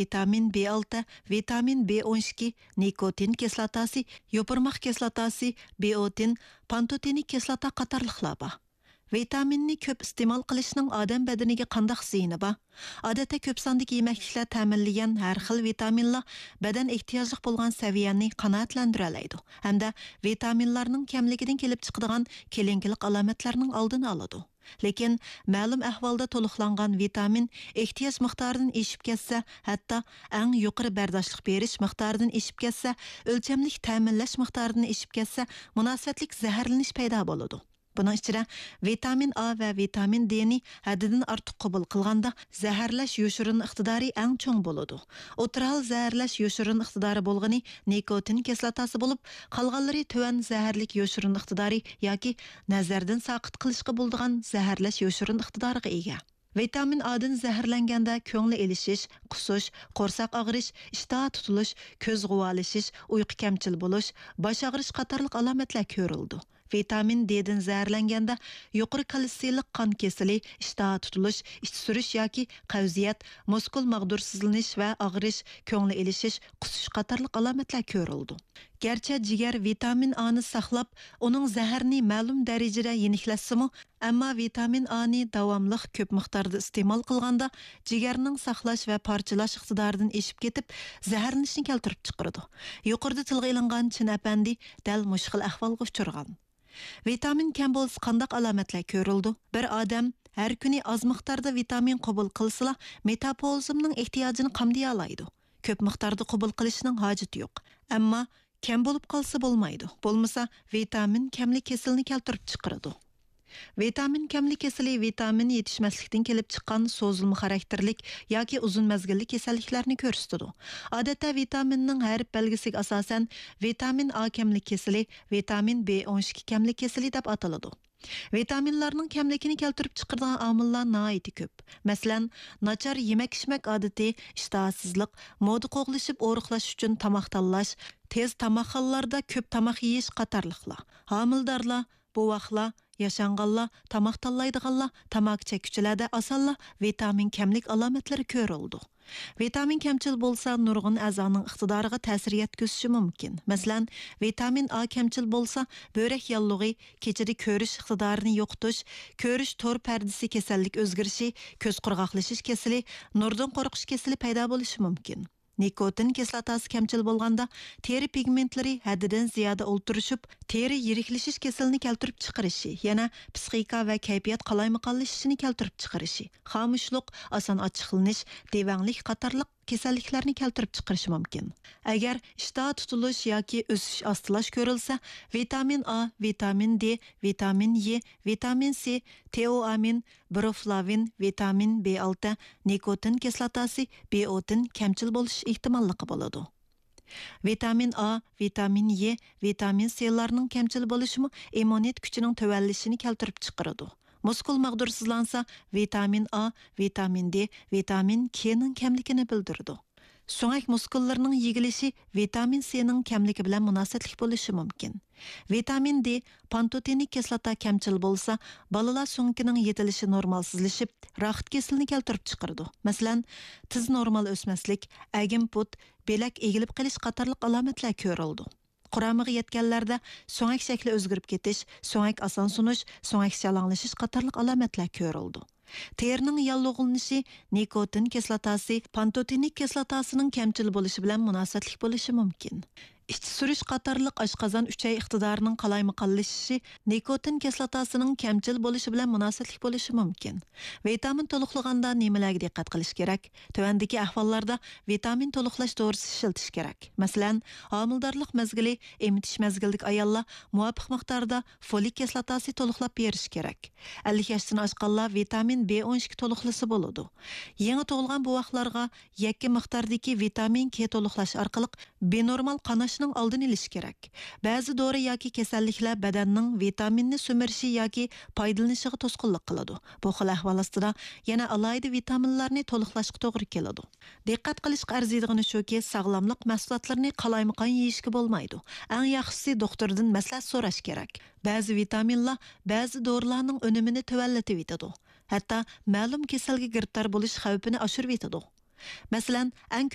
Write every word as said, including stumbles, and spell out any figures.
ۋىتامىن بى ئالتە، ۋىتامىن بى ئون ئىككى، نىكوتىن كىسلاتاسى، يوپۇرماق كىسلاتاسى، بىئوتىن، پانتوتېنىك كىسلاتا قاتارلىقلار بار. ۋىتامىننى كۆپ ئىستېمال قىلىشنىڭ ئادەم بەدىنىگە قانداق زىيىنى بار؟ ئادەتتە كۆپ ساندىكى يېمەكلىكلەر تەمىنلىگەن ھەر خىل ۋىتامىنلار بەدەن ئېھتىياجلىق بولغان سەۋىيەنى قانائەتلەندۈرەلەيدۇ ھەمدە ۋىتامىنلارنىڭ كەملىكىدىن كېلىپ چىقىدىغان كېلىنكىلىق ئالامەتلەرنىڭ ئالدىنى ئالىدۇ. لېكىن مەلۇم ئەھۋالدا تولۇقلانغان ۋىتامىن ئېھتىياج مىقدارىدىن ئېشىپ كەتسە، ھەتتا ئەڭ يۇقىرى بەرداشلىق بېرىش مىقدارىدىن ئېشىپ كەتسە، ئۆلچەملىك تەمىنلەش مىقدارىدىن ئېشىپ كەتسە، مۇناسىۋەتلىك زەھەرلىنىش پەيدا بولىدۇ. بۇنىڭ ئىچىدە ۋىتامىن ئا ۋە ۋىتامىن دېنى ھەددىدىن ئارتۇق قوبۇل قىلغاندا، زەھەرلەش يوشۇرۇن ئىقتىدارى ئەڭ چوڭ بولىدۇ. ئوتتۇرا ھال زەھەرلەش يوشۇرۇن ئىقتىدارى بولغىنى نىكوتىن كىسلاتاسى بولۇپ، قالغانلىرى تۆۋەن زەھەرلىك يوشۇرۇن ئىقتىدارى ياكى نەزەردىن ساقىت قىلىشقا بولىدىغان زەھەرلەش يوشۇرۇن ئىقتىدارىغا ئىگە. ۋىتامىن ئادىن زەھەرلەنگەندە كۆڭلى ئېلىشىش، قۇسۇش، قورساق ئاغرىش، ئىشتىھا تۇتۇلۇش، كۆز غۇۋالىشىش، ئۇيقۇ كەمچىل بولۇش، باش ئاغرىش قاتارلىق ئالامەتلەر كۆرۈلىدۇ. ۋىتامىن دېدىن زەھەرلەنگەندە يۇقىرى كالتسىيلىق قان كېسىلى، ئىشتىھا تۇتۇلۇش، ئىچ سۈرۈش ياكى قەۋزىيەت، مۇسكۇل ماغدۇرسىزلىنىش ۋە ئاغرىش، كۆڭلى ئېلىشىش، قۇسۇش قاتارلىق ئالامەتلەر كۆرۈلىدۇ. گەرچە جىگەر ۋىتامىن ئانى ساقلاپ، ئۇنىڭ زەھەرنى مەلۇم دەرىجىدە يېنىكلەتسىمۇ، ئەمما ۋىتامىن ئانى داۋاملىق كۆپ مىقداردا ئىستېمال قىلغاندا، جىگەرنىڭ ساقلاش ۋە پارچىلاش ئىقتىدارىدىن ئېشىپ كېتىپ، زەھەرلىنىشنى كەلتۈرۈپ چىقىرىدۇ. يۇقىرىدا تىلغا ئېلىنغان چىن ئەپەندى دەل مۇشۇ خىل ئەھۋالغا ئۇچرىغان. ۋىتامىن كەم بولسا قانداق ئالامەتلەر كۆرۈلىدۇ؟ بىر ئادەم ھەر كۈنى ئاز مىقداردا ۋىتامىن قوبۇل قىلسىلا، مېتابولىزمنىڭ ئېھتىياجىنى قامدىيالايدۇ. كۆپ مىقداردا قوبۇل قىلىشنىڭ ھاجىتى يوق. ئەمما كەم بولۇپ قالسا بولمايدۇ. بولمىسا، ۋىتامىن كەملىك كېسىلىنى كەلتۈرۈپ چىقىرىدۇ. ۋىتامىن كەملىك كېسىلى ۋىتامىن يېتىشمەسلىكتىن كېلىپ چىققان سوزۇلما خاراكتېرلىك ياكى ئۇزۇن مەزگىللىك كېسەللىكلەرنى كۆرسىتىدۇ. ئادەتتە ۋىتامىننىڭ ھەرپ بەلگىسىگە ئاساسەن ۋىتامىن ئا كەملىك كېسىلى، ۋىتامىن بى ئون ئىككى كەملىك كېسىلى دەپ ئاتىلىدۇ. ۋىتامىنلارنىڭ كەملىكىنى كەلتۈرۈپ چىقىرىدىغان ئامىللار ناھايىتى كۆپ. مەسىلەن، ناچار يېمەك-ئىچمەك ئادىتى، ئىشتىھاسىزلىق، مودا قوغلىشىپ ئورۇقلاش ئۈچۈن تاماق تاللاش، تېز تاماقخانىلاردا كۆپ تاماق يېيىش قاتارلىقلار. ھامىلىدارلار، بوۋاقلار، ياشانغانلار، تاماق تاللايدىغانلار، تاماكا چەككۈچىلەردە ئاسانلا ۋىتامىن كەملىك ئالامەتلىرى كۆرۈلىدۇ. ۋىتامىن كەمچىل بولسا، نۇرغۇن ئەزانىڭ ئىقتىدارىغا تەسىر يەتكۈزۈشى مۇمكىن. مەسىلەن، ۋىتامىن ئا كەمچىل بولسا، بۆرەك ياللۇغى، كېچىدە كۆرۈش ئىقتىدارىنى يوقىتىش، كۆرۈش تور پەردىسى كېسەللىك ئۆزگىرىشى، كۆز قۇرغاقلىشىش كېسىلى، نۇردىن قورقۇش كېسىلى پەيدا بولۇشى مۇمكىن. نىكوتىن كىسلاتاسى كەمچىل بولغاندا، تېرە پىگمېنتلىرى ھەددىدىن زىيادە ئولتۇرۇشۇپ، تېرە يىرىكلىشىش كېسىلىنى كەلتۈرۈپ چىقىرىشى، يەنە پىسخىكا ۋە كەيپىيات قالايمىقانلىشىشىنى كەلتۈرۈپ چىقىرىشى، خامۇشلۇق، ئاسان ئاچچىقلىنىش، دېۋەڭلىك قاتارلىق كېسەللىكلەرنى كەلتۈرۈپ چىقىرىشى مۇمكىن. ئەگەر ئىشتىھا تۇتۇلۇش ياكى ئۆسۈش ئاستىلاش كۆرۈلسە، ۋىتامىن ئا، ۋىتامىن دې، ۋىتامىن يې، ۋىتامىن سى، تېئوئامىن، بروفلاۋىن، ۋىتامىن بى ئالتە، نىكوتىن كىسلاتاسى، بىئوتىن كەمچىل بولۇش ئېھتىماللىقى بولىدۇ. ۋىتامىن ئا، ۋىتامىن يې، ۋىتامىن سىلارنىڭ كەمچىل بولۇشىمۇ ئىممۇنىتېت كۈچىنىڭ تۆۋەنلىشىنى كەلتۈرۈپ چىقىرىدۇ. مۇسكۇل ماغدۇرسىزلانسا، ۋىتامىن ئا، ۋىتامىن دې، ۋىتامىن كېنىڭ كەملىكىنى بىلدۈرىدۇ. سۆڭەك مۇسكۇللىرىنىڭ يېگىلىشى ۋىتامىن سىنىڭ كەملىكى بىلەن مۇناسىۋەتلىك بولۇشى مۇمكىن. ۋىتامىن دې، پانتوتېنىك كىسلاتا كەمچىل بولسا، بالىلار سۆڭىكىنىڭ يېتىلىشى نورمالسىزلىشىپ، راخىت كېسىلىنى كەلتۈرۈپ چىقىرىدۇ. مەسىلەن، تېز نورمال ئۆسمەسلىك، ئەگىم پۇت، بىلەك ئېگىلىپ قېلىش قاتارلىق ئالامەتلەر كۆرۈلىدۇ. قۇرامىغا يەتكەنلەردە سۆڭەك شەكلى ئۆزگىرىپ كېتىش، سۆڭەك ئاسان سۇنۇش، سۆڭەك شالاڭلىشىش قاتارلىق ئالامەتلەر كۆرۈلىدۇ. تېرىنىڭ ياللۇغلىنىشى نىكوتىن كىسلاتاسى، پانتوتېنىك كىسلاتاسىنىڭ كەمچىل بولۇشى بىلەن مۇناسىۋەتلىك بولۇشى مۇمكىن. ئىچ سۈرۈش قاتارلىق ئاشقازان ئۈچەي ئىقتىدارىنىڭ قالايمىقانلىشىشى نىكوتىن كىسلاتاسىنىڭ كەمچىل بولۇشى بىلەن مۇناسىۋەتلىك بولۇشى مۇمكىن. ۋىتامىن تولۇقلىغاندا نېمىلەرگە دىققەت قىلىش كېرەك؟ تۆۋەندىكى ئەھۋاللاردا ۋىتامىن تولۇقلاش دورىسى ئىشلىتىش كېرەك. مەسىلەن، ھامىلىدارلىق مەزگىلى، ئېمىتىش مەزگىلىدىكى ئاياللار مۇۋاپىق مىقداردا فولىك كىسلاتاسى تولۇقلاپ بېرىشى كېرەك. ئەللىك ياشتىن ئاشقانلار ۋىتامىن بى ئون ئىككى تولۇقلىسا بولىدۇ. يېڭى تۇغۇلغان بوۋاقلارغا يەككە مىقداردىكى ۋىتامىن كې تولۇقلاش ئارقىلىق بىنورمال قاناشنىڭ ئالدىنى ئېلىش كېرەك. بەزى دورا ياكى كېسەللىكلەر بەدەننىڭ ۋىتامىننى سۈمۈرۈشى ياكى پايدىلىنىشىغا توسقۇنلۇق قىلىدۇ. بۇ خىل ئەھۋال ئاستىدا يەنە ئالاھىدە ۋىتامىنلارنى تولۇقلاشقا توغرا كېلىدۇ. دىققەت قىلىشقا ئەرزىيدىغىنى شۇكى، ساغلاملىق مەھسۇلاتلىرىنى قالايمىقان يېيىشكە بولمايدۇ. ئەڭ ياخشىسى دوختۇردىن مەسلىھەت سوراش كېرەك. بەزى ۋىتامىنلار بەزى دورىلارنىڭ ئۈنۈمىنى تۆۋەنلىتىۋېتىدۇ. ھەتتا مەلۇم كېسەلگە گىرىپتار بولۇش خەۋپىنى ئاشۇرۇۋېتىدۇ. مەسىلەن، ئەڭ